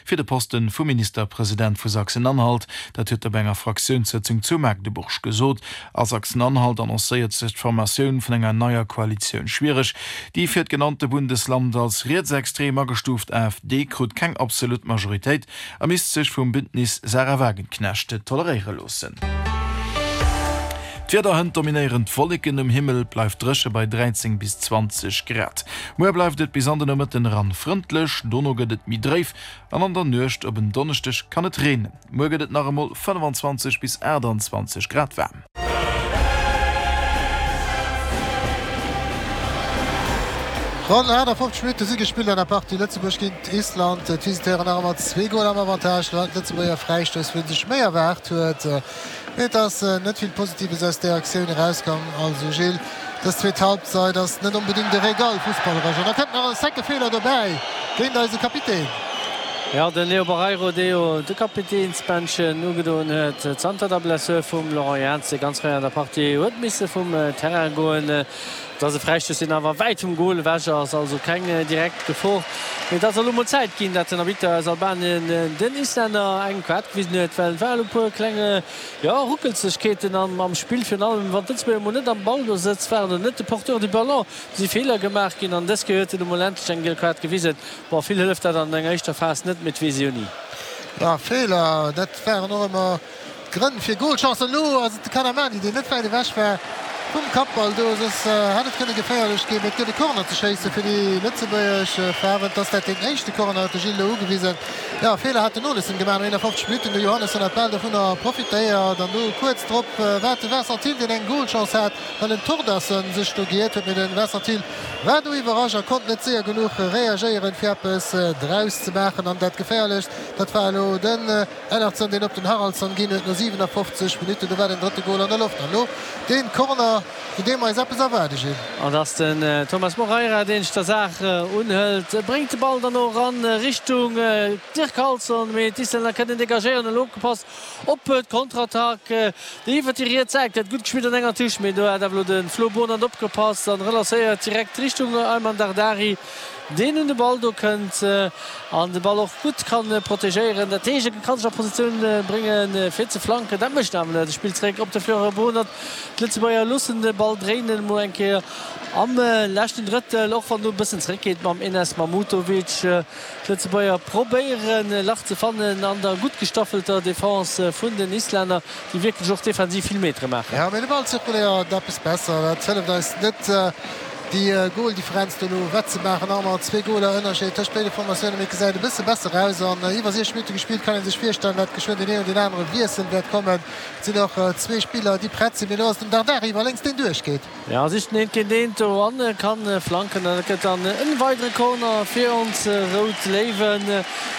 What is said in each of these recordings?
Fir de Posten vum Ministerpresident vu Sachsen-Anhalt. Dat huet e bei enger Fraktiounssëtzung zu Magdeburg gesot. A Sachsen-Anhalt annoncéiert sech d'Formatioun vun enger neier Koalitioun schwiereg. Déi fir d'genannte Bundesland als rietsextrem agestuuft AfD krut keng absolut Majoritéit a misst sech vum Bündnis Sahra Wagenknecht toleréiere loossen. D'Wieder, Hënt dominéieren d'Wolleken um Himmel, et bleift dréche bei 13 bis 20 Grad. Muer bleift et bis an de Nomëtten eran frëndlech, dono gëtt et méi dréif an an der Nuecht op en Donneschdeg kann et reenen. Muer gëtt et nach emol 25 bis 28 Grad waarm. Ronn 58 Minutte si gespillt an der Partie Lëtzebuerg géint Island. D'Visiteuren nach ëmmer zwee Goler am Avantage. Lo haten d'Lëtzebuerger Fräistouss, wou ee sech méi erwaart huet. Et ass net vill Positives aus där Aktioun erauskomm. Also Gilles, dës zweet Halbzeit ass net onbedéngt e Régal fussballeresch. An da kënnt nach e secke Feeler dobäi géint eise Kapitän. Jo, den Leo Barreiro, dee jo de Kapitänsbändchen ugedoen huet zanter der Blessur vum Laurent Jans, dee ganz fréi an der Partie huet misse vum Terrain goen. Et ass e Fräistouss, deen awer wäit vum Gol ewech ass, also keng direkt Gefor. Mee et ass elo mol Zäit ginn, dat den Arbitter aus Albanien den Islänner eng Kaart gewisen huet, well et war elo e puer kleng, jo, Ruckelzegkeeten am Spill. Virun allem wann d'Lëtzebuerger mol net am Ballbesëtz waren oder net de Porteur du Ballon, si Feeler gemaach ginn an dës Kéier huet en elo mol endlech eng giel Kaart gewisen. Bon, vill hëlleft dat an enger éischter Phas net, mee et weess ee jo ni. Jo, Feeler, dat waren och ëmmer Grënn fir Golchancen. Elo ass et de Kanamani, deen net wäit ewech war vum Kappball do, soss hätt et kënne geféierlech ginn. Mee et gëtt e Corner ze schéisse fir déi lëtzebuergesch Faarwen. Et ass dat deen éischte Corner, huet de Gilles elo ugewisen. Jo, Feeler hat den Olesen gemaach no 51 Minutten. De Johannessen hat bal dovunner profitéiert an do kuerz drop war et de Vincent Thill, deen eng Golchance hat, well den Thordarson sech do giert huet. Mee de Vincent Thill war do iwwerrascht a konnt net séier genuch reagéieren, fir eppes draus ze maachen. An dat Geféierlecht, dat war elo den. Ellertsson, deen op den Haraldsson ginn huet no 57 Minutten. Do war den drëtte Gol an der Loft. An elo deen Corner, vun deem mer eis eppes erwaarde, Gilles. An et ass den Thomas Moreira, deen sech der Saach unhëlt, bréngt de Ball dann och eran Richtung Dirk Carlson, mee d'Islänner kënnen degagéieren. Elo opgepasst op d'Konterattack, déi iwwert déi riets Säit gëtt gutt gespillt an enger Touche, mee do hat awer elo de Flo Bonert opgepasst an relancéiert direkt Richtung Ayman Dardari. deen un de Ball do kënnt an de Ball och gutt ka protegéieren. Dat heescht, e ka sech a Positioun bréngen, fir ze flanken. Dat mécht en awer net. E spillt zeréck op de Florent Bohnert. D'Lëtzebuerger loossen de Ball dréinen, emol eng Kéier am leschten Drëttel, och wann do e bëssen zeréckgeet mam Enes Mahmutovic. D'Lëtzebuerger probéieren, e Lach ze fannen an der gutt gestaffelter Defense vun den Islänner, déi wierklech och defensiv vill Metere maachen. Jo, mee de Ball zirkuléiert eppes besser. Dat hëlleft eis net. Déi Goldifferenz do elo wettzemaachen, nach ëmmer zwee Goler Ënnerscheed tëscht béide Formatiounen, mee et gesäit e bësse besser aus an iwwer 60 Minutte gespillt kann ee sech virstellen, datt geschwënn deen een oder deen anere Wiessel wäert kommen. Et sinn och zwee Spiller, déi prett sinn, mee elo ass den Dardari iwwer lénks, deen duerchgeet. Jo, sicht den eent géint eent do an kann flanken an et gëtt dann en weidere Corner fir ons Rout Léiwen.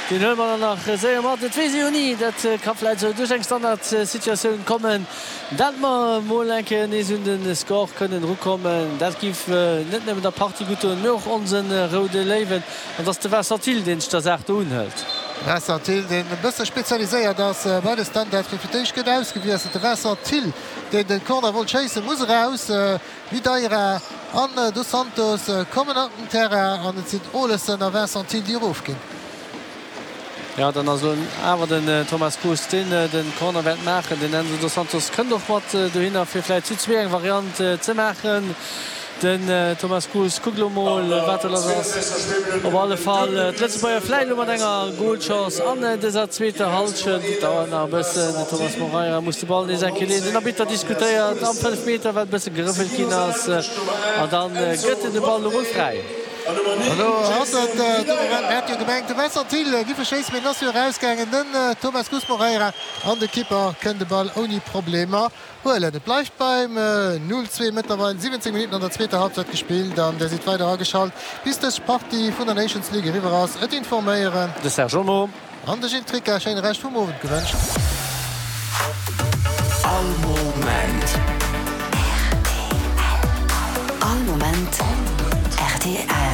Deen huele mer dann nach séier mat, et weess ee jo ni, dat ka vläit esou duerch eng Standardsituatioun kommen. Dat mer mol eng Kéier nees un de Score kënnen erukommen, dat giff net nëmmen der Partie gutt doen, mee och onsen Roude Léiwen. An et ass de Vincent Thill, deen sech der Saach do unhëlt. Vincent Thill, deen e bësse spezialiséiert ass bei de Standards, mee fir d'éischt gëtt ausgewiesselt. De Vincent Thill, deen de Corner wollt schéissen, muss eraus. Videira an Dos Santos kommen an den Terrain an et sinn Olesen a Vincent Thill, déi erofginn. Jo, dann ass elo awer den Thomas Cruz, deen den Corner wäert maachen. Den Enzo Dos Santos kënnt och mat dohinner, fir vläit zu zwee eng Variant ze maachen. Den Thomas Cruz kuckt elo mol, wat do lass ass. Op alle Fall d'Lëtzebuerger vläit elo mat enger Golchance an dëser zweeter Hallschent. Et dauert nach e bëssen. Den Thomas Moreira muss de Ball nees eng Kéier leeën. Den Arbitter diskutéiert am Fënnefmeter, well e bësse gerëffelt ginn ass. An dann gëtt en de Ball elo mol fräi. Elo ass et de Moment, mir hate jo gemengt, de Vincent Thill giff e schéissen, mee en ass jo erausgaangen. Den Thomas Cruz Moreira an de Kipper kënnt de Ball ouni Problemer huelen. Et bleift beim 0, 2, mëttlerweil 17 Minutten an der zweeter Halbzeit gespillt an där sidd weider ageschalt bis dës Partie vun der Nations League eriwwer ass. Et informéieren. De Serge Olmo. An de Gilles Tricca. Schéine Rescht vum Owend gewënscht. All Moment. All Moment rtl.